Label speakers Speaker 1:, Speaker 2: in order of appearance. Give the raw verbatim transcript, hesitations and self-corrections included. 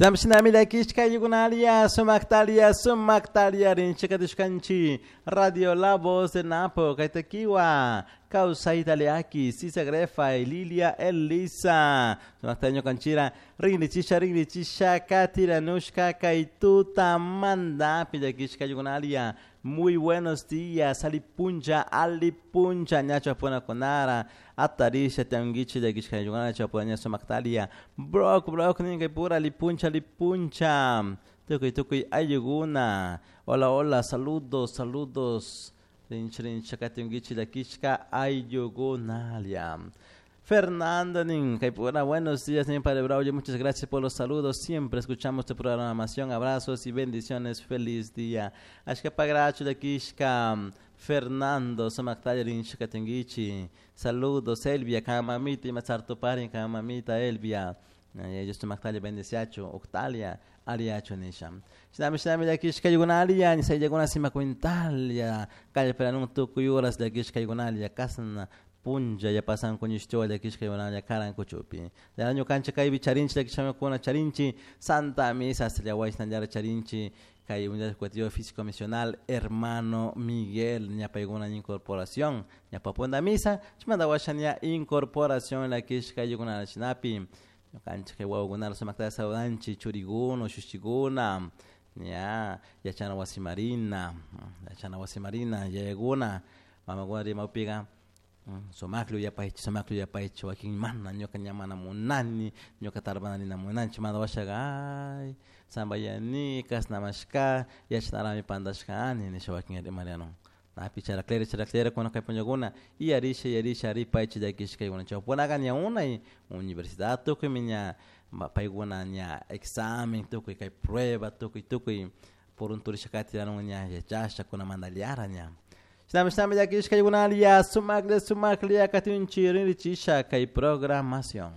Speaker 1: Shinami shinami llakishka ayllukuna sumaktalia sumaktalia rinchikatishkanchik Radio La Voz de Napo kaytakiwa kawsayta liaki Sisa Grefa Lilia Elisa sumakta ñukanchira rinrichisha rinrichisha katiranushka kay tutamantapi llakishka ayllukuna. Muy buenos días, alipuncha, alipuncha, ñacho kunara, atarisha, tianguichi, llakishka ayllukuna, chapuna sumaktalia, brock, brock, ninka pura, alipuncha, alipuncha, tukuy, tukuy, ayllukuna, hola, hola, saludos, saludos, rincha, rincha, katiunguichi, llakishka ayllukunalia. Fernando nin, pura, buenos días, nin Padre Braulio, muchas gracias por los saludos. Siempre escuchamos tu programación. Abrazos y bendiciones. Feliz día. Ashka pagracho llakishka Fernando, sumaktalla rinchika tinguichi. Saludos, Elvia, mamita y matzartupari, mamita Elvia. Ellos sumaktalla bendiciacho, Octalia, Ariacho nisha. Shinami shinami llakishka ayllukuna, nisayllakuna simacuintalia, calle peranun tukuy horas llakishka ayllukuna, kasna punlla ya pasan kuñishtiwa llakishka ayllukuna karan kuchupi. Ya ñukanchik kaypi charinchik llakishkamikuna charinchik Santa Misa hasta charinchik kay Unidad Educativa Físico Misional hermano Miguel ña paykuna incorporación ña papunda misa chimanta washa ña incorporación llakishka ayllukuna chinapi ñukanchik kay wawakuna sumakta saludanchik churikuna ushushikuna ña yachana wasi marina yachana wasi marina yayakuna mamakuna rimapika sumaklla uyapaychik sumaklla uyapaychik wakin mana ñuka ña mana munani ñuka tarpanarina munanchik chimanta washaka ay sambayani kashnamashka yachanarami pantashkani nisha wakin rimarianun napi charaklera charaklera kuna kay punllakuna yarisha yarisha ripaychik llakishka chawpunaka ña unay universidad tukuymi ña paykuna ña examen tukuy kay prueba tukuy tukuy purunturisha katiranun ña yachasha kunamanta ña. Shinami shinami llakishka ayllukuna sumaklla sumaklla katinchik rinrichisha kay programación.